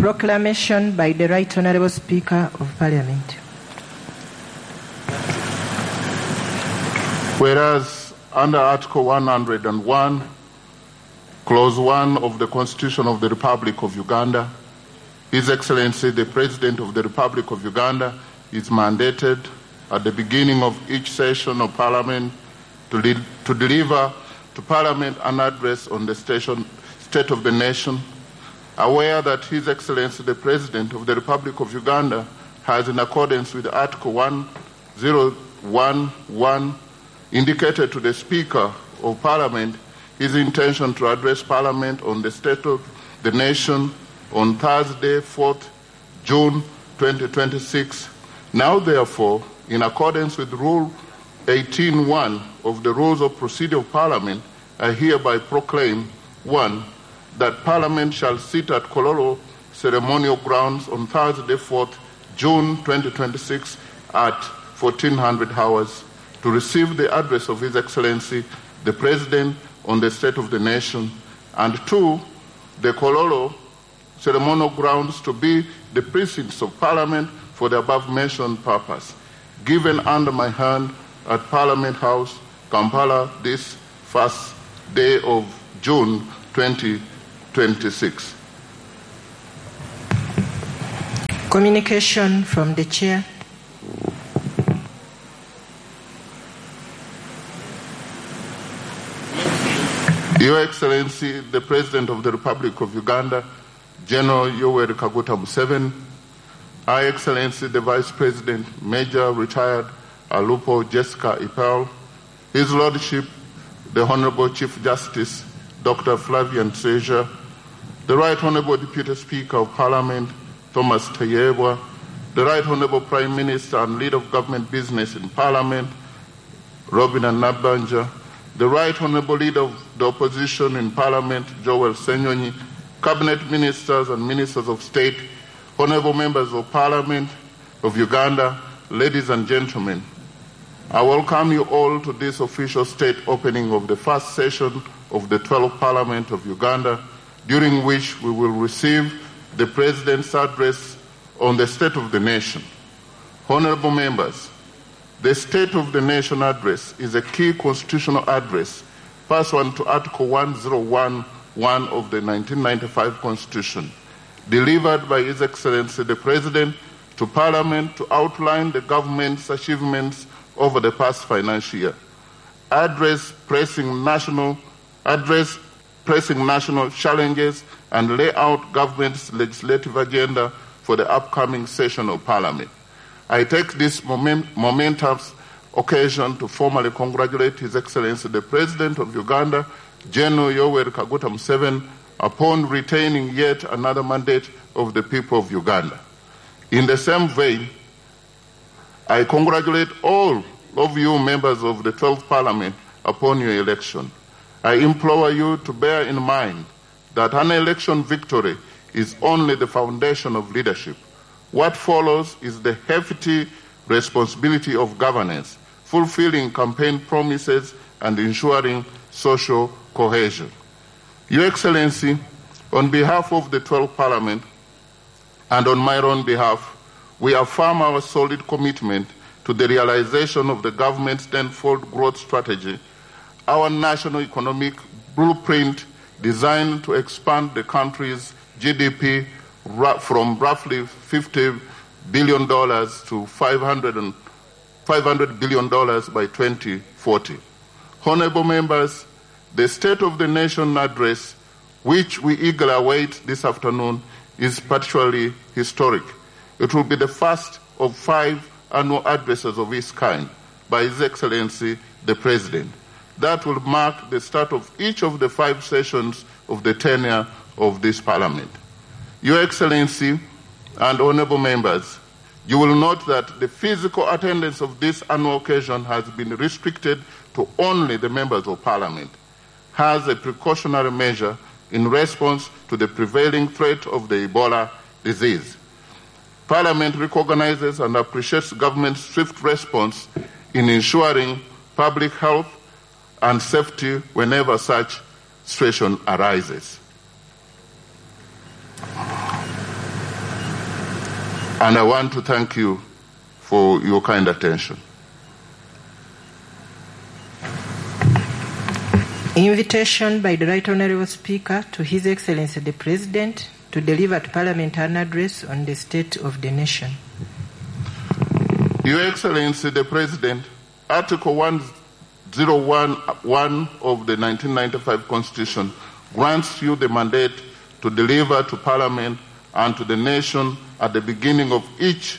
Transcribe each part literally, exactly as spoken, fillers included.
Proclamation by the Right Honorable Speaker of Parliament. Whereas under Article one hundred and one, Clause one of the Constitution of the Republic of Uganda, His Excellency the President of the Republic of Uganda is mandated at the beginning of each session of Parliament to, de- to deliver to Parliament an address on the station, state of the nation, aware that His Excellency the President of the Republic of Uganda has, in accordance with Article one zero one one, indicated to the Speaker of Parliament his intention to address Parliament on the state of the nation on Thursday, fourth June twenty twenty-six. Now, therefore, in accordance with Rule eighteen one of the Rules of Procedure of Parliament, I hereby proclaim, one, that Parliament shall sit at Kololo Ceremonial Grounds on Thursday, fourth June twenty twenty-six, at fourteen hundred hours to receive the address of His Excellency the President on the State of the Nation, and two, the Kololo Ceremonial Grounds to be the precincts of Parliament for the above mentioned purpose. Given under my hand at Parliament House, Kampala, this first day of June twenty twenty-six. Communication from the Chair. Your Excellency, the President of the Republic of Uganda, General Yoweri Kaguta Museveni, Her Excellency the Vice President, Major Retired Alupo Jessica Epel, His Lordship the Honorable Chief Justice Doctor Flavia Nseja, the Right Honorable Deputy Speaker of Parliament Thomas Tayebwa, the Right Honorable Prime Minister and Leader of Government Business in Parliament Robina Nabbanja, the Right Honorable Leader of the Opposition in Parliament Joel Ssenyonyi, Cabinet Ministers and Ministers of State, Honorable Members of Parliament of Uganda, ladies and gentlemen, I welcome you all to this official state opening of the first session of the twelfth Parliament of Uganda, during which we will receive the President's address on the State of the Nation. Honorable Members, the State of the Nation Address is a key constitutional address pursuant to Article one zero one one of the nineteen ninety-five Constitution, delivered by His Excellency the President to Parliament to outline the government's achievements over the past financial year, address pressing national, address pressing national challenges, and lay out government's legislative agenda for the upcoming session of Parliament. I take this momen- momentous occasion to formally congratulate His Excellency the President of Uganda, General Yoweri Kaguta Museveni, upon retaining yet another mandate of the people of Uganda. In the same vein, I congratulate all of you members of the twelfth Parliament upon your election. I implore you to bear in mind that an election victory is only the foundation of leadership. What follows is the hefty responsibility of governance, fulfilling campaign promises and ensuring social cohesion. Your Excellency, on behalf of the twelfth Parliament, and on my own behalf, we affirm our solid commitment to the realization of the government's tenfold growth strategy, our national economic blueprint designed to expand the country's G D P ru- from roughly fifty billion dollars to five hundred and five hundred billion dollars by twenty forty. Honorable members, the State of the Nation address, which we eagerly await this afternoon, is particularly historic. It will be the first of five annual addresses of its kind by His Excellency the President. That will mark the start of each of the five sessions of the tenure of this Parliament. Your Excellency and honorable members, you will note that the physical attendance of this annual occasion has been restricted to only the members of Parliament as a precautionary measure in response to the prevailing threat of the Ebola disease. Parliament recognizes and appreciates government's swift response in ensuring public health and safety whenever such situation arises. And I want to thank you for your kind attention. Invitation by the Right Honorable Speaker to His Excellency the President to deliver to Parliament an address on the state of the nation. Your Excellency the President, Article one zero one one of the nineteen ninety-five Constitution grants you the mandate to deliver to Parliament and to the nation at the beginning of each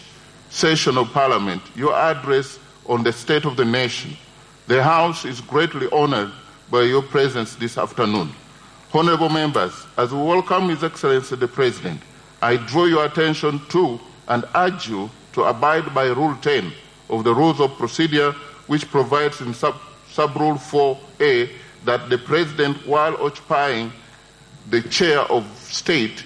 session of Parliament your address on the state of the nation. The House is greatly honored by your presence this afternoon. Honorable members, as we welcome His Excellency the President, I draw your attention to and urge you to abide by Rule ten of the Rules of Procedure, which provides in sub, sub-rule four A that the President, while occupying the chair of state,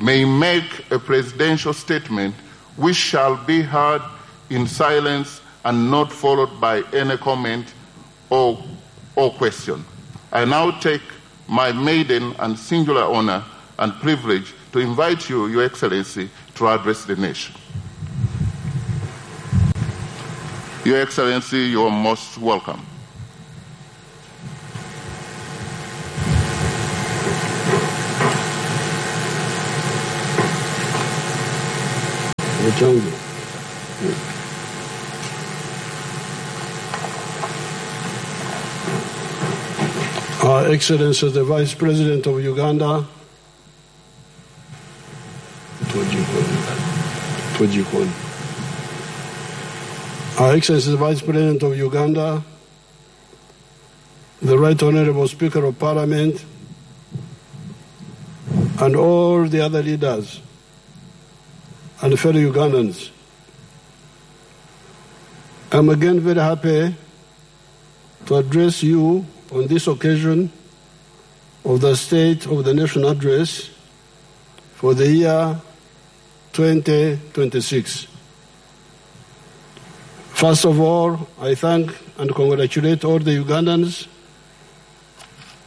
may make a presidential statement which shall be heard in silence and not followed by any comment or, or question. I now take my maiden and singular honor and privilege to invite you, Your Excellency, to address the nation. Your Excellency, you are most welcome. Her Excellency the Vice President of Uganda, Her Excellency the Vice President of Uganda, the Right Honorable Speaker of Parliament, and all the other leaders and fellow Ugandans. I'm again very happy to address you on this occasion of the State of the Nation Address for the year twenty twenty-six. First of all, I thank and congratulate all the Ugandans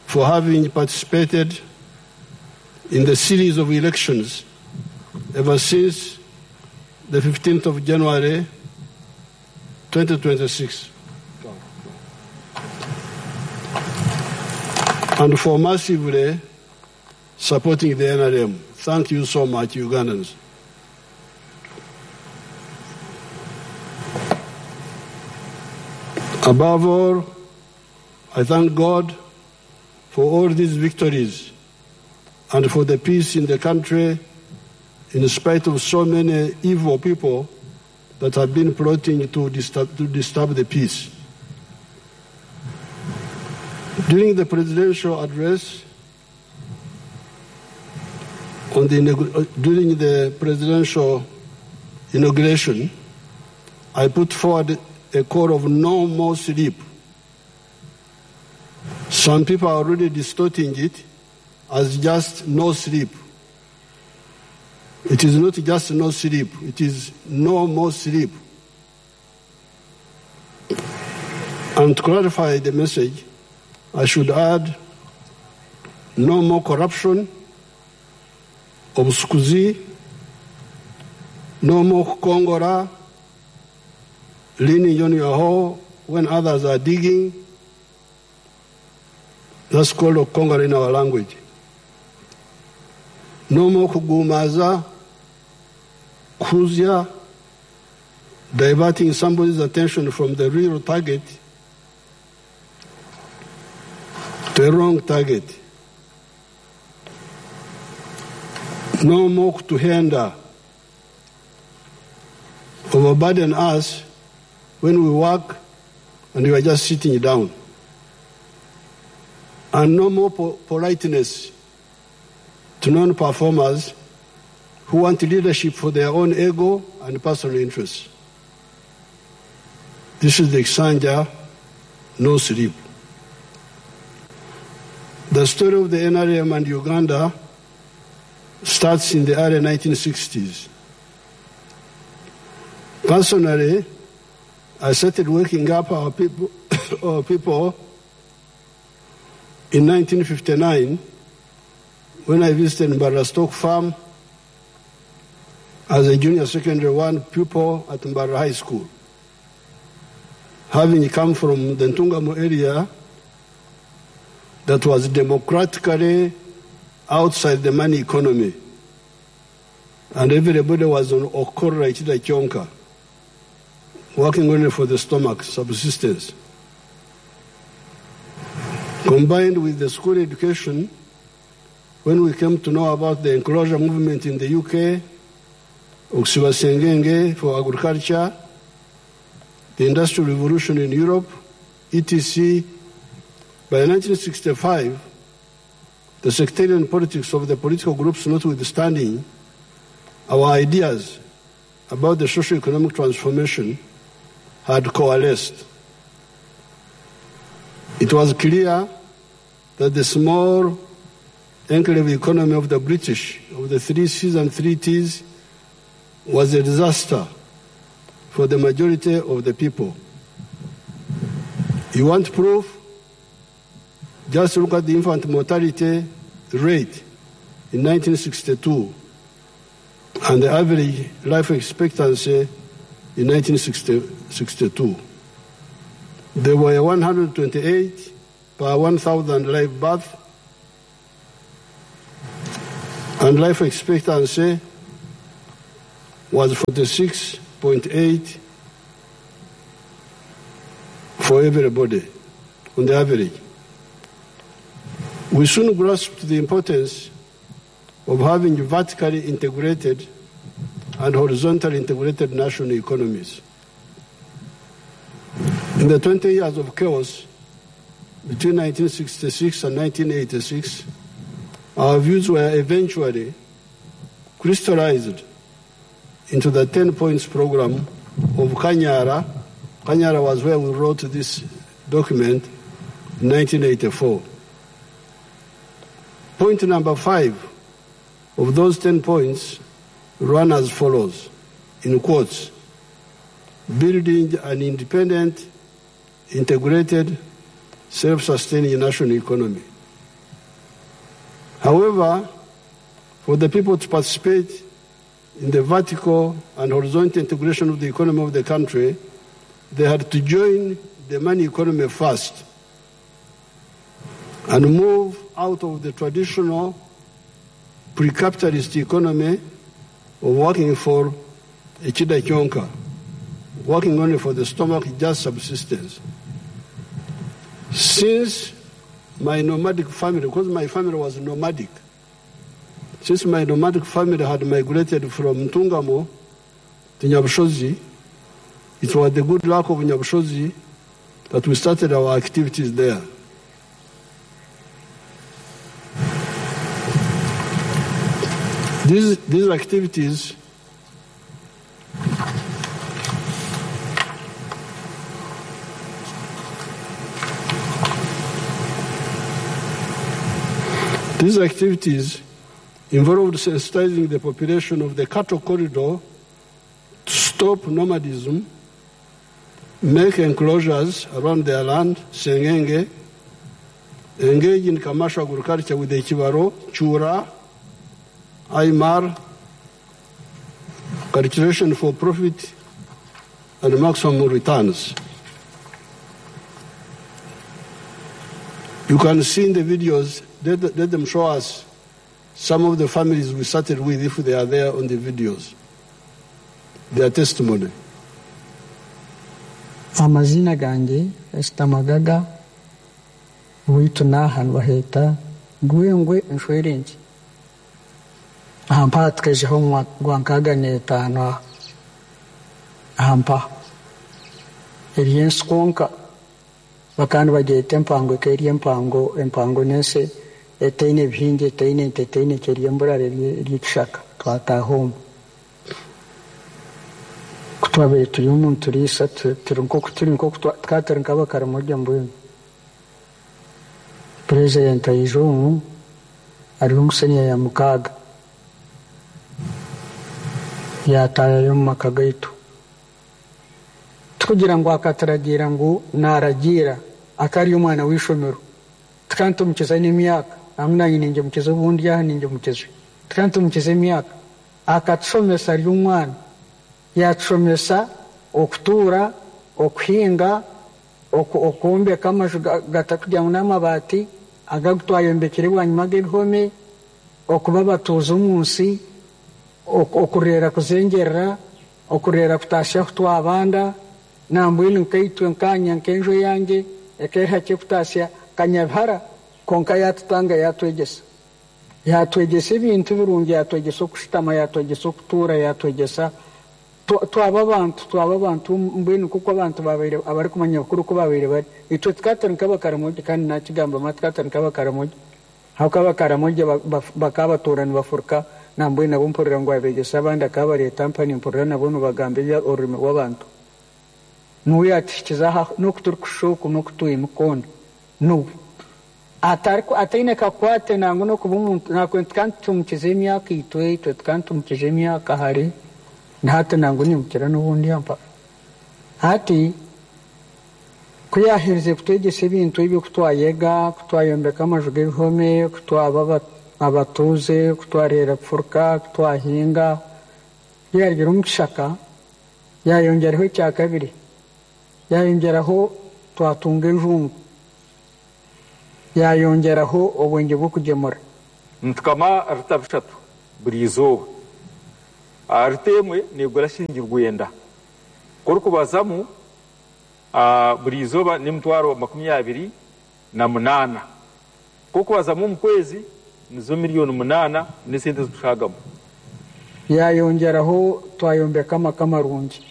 for having participated in the series of elections ever since the fifteenth of January, twenty twenty-six, and for massively supporting the N R M. Thank you so much, Ugandans. Above all, I thank God for all these victories and for the peace in the country, in spite of so many evil people that have been plotting to disturb, to disturb the peace. During the presidential address, on the inaugu-, uh, during the presidential inauguration, I put forward a call of no more sleep. Some people are already distorting it as just no sleep. It is not just no sleep, it is no more sleep. And to clarify the message, I should add, no more corruption, obusukuzi, no more kukongora, leaning on your hoe when others are digging. That's called okongora in our language. No more kugumaza, kuzya, diverting somebody's attention from the real target to a wrong target. No more kutuhenda overburden us when we work and you are just sitting down. And no more po-, politeness to non-performers who want leadership for their own ego and personal interests. This is the Kisanja, no sleep. The story of the N R M and Uganda starts in the early nineteen sixties. Personally, I started waking up our people, our people in nineteen fifty-nine when I visited Mbarara Stock Farm as a junior secondary one pupil at Mbarara High School, having come from the Ntungamo area that was democratically outside the money economy, and everybody was on okorra ichida chonka, working only for the stomach subsistence. Combined with the school education, when we came to know about the enclosure movement in the U K, Oksiba Sengenge for agriculture, the Industrial Revolution in Europe, et cetera, by nineteen sixty-five, the sectarian politics of the political groups notwithstanding, our ideas about the socio-economic transformation had coalesced. It was clear that the small enclave economy of the British, of the three C's and three T's, was a disaster for the majority of the people. You want proof? Just look at the infant mortality rate in nineteen sixty-two and the average life expectancy in nineteen sixty-two. They were one hundred twenty-eight per one thousand live birth, and life expectancy was forty-six point eight for everybody on the average. We soon grasped the importance of having vertically integrated and horizontally integrated national economies. In the twenty years of chaos between nineteen sixty-six and nineteen eighty-six, our views were eventually crystallized into the ten points program of Kanyara. Kanyara was where we wrote this document in nineteen eighty-four. Point number five of those ten points ran as follows, in quotes: "Building an independent, integrated, self-sustaining national economy." However, for the people to participate in the vertical and horizontal integration of the economy of the country, they had to join the money economy first and move out of the traditional pre-capitalist economy of working for a chida chonka, working only for the stomach, just subsistence. Since my nomadic family, because my family was nomadic, since my nomadic family had migrated from Ntungamo to Nyabushozi, it was the good luck of Nyabushozi that we started our activities there. These, these activities These activities involved sensitizing the population of the cattle corridor to stop nomadism, make enclosures around their land, Sengenge, engage in commercial agriculture with the Chibaro, Chura, Aymar, cultivation for profit and maximum returns. You can see in the videos, let, let them show us some of the families we started with, if they are there on the videos, their testimony. Amazina gange Esther Magaga, waitu naha nibaheeta Gwengwe Nshwerenje. Ampa tukezeho gwa nkaaga n'etaano. Ampa eri ensi kwonka. Bakano bajeete empango, ekeerya empango, empango nese, eteine ebihingya, eteine ente, eteine ekeerya emburara eri, eri ekishaka, twataha omu. Kutwabaire tuli omu tuli isatu, tuli nko, tuli nko, tukaba tuli nka Abakaramoja mbwenu. President aija omu, ali omu senior ya mukaaga, yatayayo omu maka gaitu. Tikugira ngu akataragira ngu naragira akari omwana w'ishomero. Tikanti omukiza n'emyaka, amu nanye ninja omukiza obundi aha ninja omukiza. Tikanti omukiza emyaka. Akatusomesa lyuŋwan, yatusomesa okutura, okuhinga, oku-, okuombeka amaju ga-, gatakujamu n'amabati agagutwayombekere wany mag'ebihome, okuba abatuuza omunsi, ok-, okurera kuzenjerera, okurera kutasya kutwa abanda, nambwil nka itwe nka anyaŋ kenjo yange, ekera ce kutasya, kanyabara, konka yatutanga yatwejesa. Yatwejesa ebintu ebirungi, yatwejesa okusitama, yatwejesa okutura, yatwejesa twa-, twaba abantu, twaba abantu, mbwenu kuko abantu babere, abari kumanya kuru ko babere bari. Itwe tukatere nka bakaramoja, kandi nakigamba ma tukatere nka bakaramoja. Hau ka bakaramoja ba-, ba-, baka abaturani bafurka, nambwenu nabo mpurira ngwa bejesa abandi aka bari etampani mpurira nabo nu bagambe ya orime w'abantu. Nu ya ticizaka, nu kutur kushoku, nu kutwim kun. Nu. Atar ku-, atine ka kwate nangu nu kubu muntu, na kwen kan tum cize myaka itwe, itwe kan tum cize myaka hari. Na ate nangu ni mukira nu wundi ampa. Ati, kuyahirize kutwejesa ebintu ebyo kutwa yega, kutwa yombeka amaju g'ebihome, kutwa aba-, abatuze, kutwa ryera furka, kutwa hinga. Yari girum kishaka, yayonjeraho ekya kabiri, yayonjeraho twatunga envungu, yayonjeraho obwenje bw'okujemura. Ntukama arita bishatu buli izooba. Arita emwe negula shilingi lwenda. Koro kubazamu, ah, buli izooba ni mutwaro makumi abiri na munana. Ko kubazamu omu kwezi, nizo miliyoni munana ne sente zitutagamu. Yayonjeraho twayombeka amaka amarungi.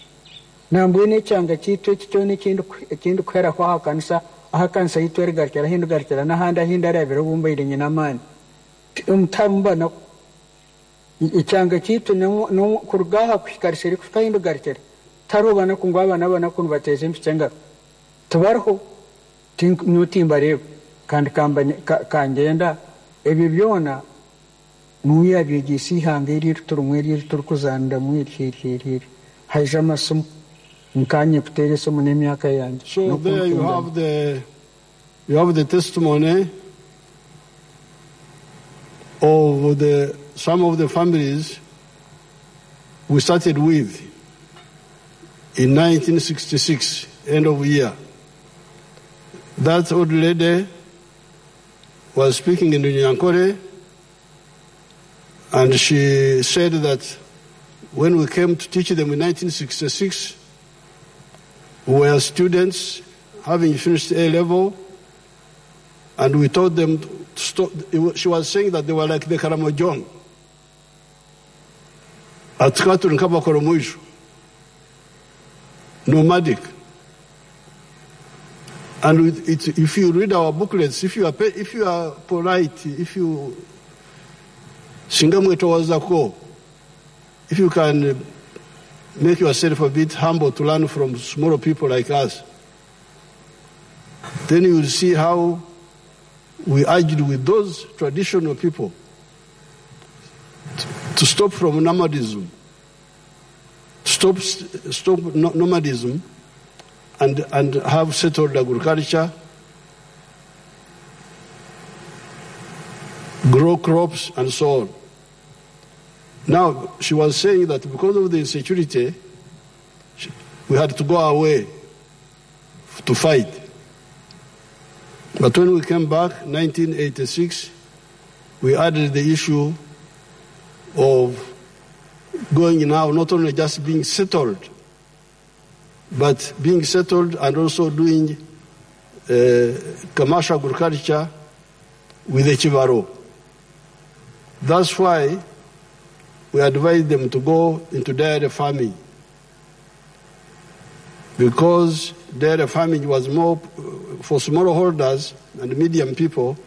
Nambwene ecanga cito ekiconi ekindu, ekindu kwera kwa akanisa, akanisa itwere garikira, hindu garikira, na handa hinda rebere wumba ile nyina amani. Ti-, omutamu banako. I-, icanga cito ne, ne, kurgaha kwi kariseri kuta hindu garikira. Taro bana kungwa bana bana kun bateze mpicenga. Tubarho, tin-, nyo timba rego, kandi kamba ni-, ka-, kanjenda, ebyo byona, Nuya bye ji si hange iri turu ŋweri iri turu kuzanda ŋweri iri iri iri. Haija masumu. Nkanye kutere somo n'emyaka yange. So there you have the, you have the testimony of the, some of the families we started with in nineteen sixty-six, end of year. That old lady was speaking in Runyankore, and she said that when we came to teach them in nineteen sixty-six, we were students having finished A level, and we taught them to stop. It wa-, she was saying that they were like the Karamojong. Atukaturi nka bakoro mwiso. Nomadic. And with it, if you read our booklets, if you are pa-, if you are polite, if you singa mwetowaza ko, if you can, uh, make yourself a bit humble to learn from small people like us, then you will see how we urged with those traditional people to, to stop from nomadism, stop, stop no-, nomadism, and, and have settled agriculture, grow crops, and so on. Now, she was saying that because of the insecurity, she, we had to go away to fight. But when we came back, nineteen eighty-six, we added the issue of going now, not only just being settled, but being settled and also doing, uh, commercial agriculture with the Chivaro. That's why we advise them to go into dairy farming, because dairy farming was more, uh, for smallholders and medium people,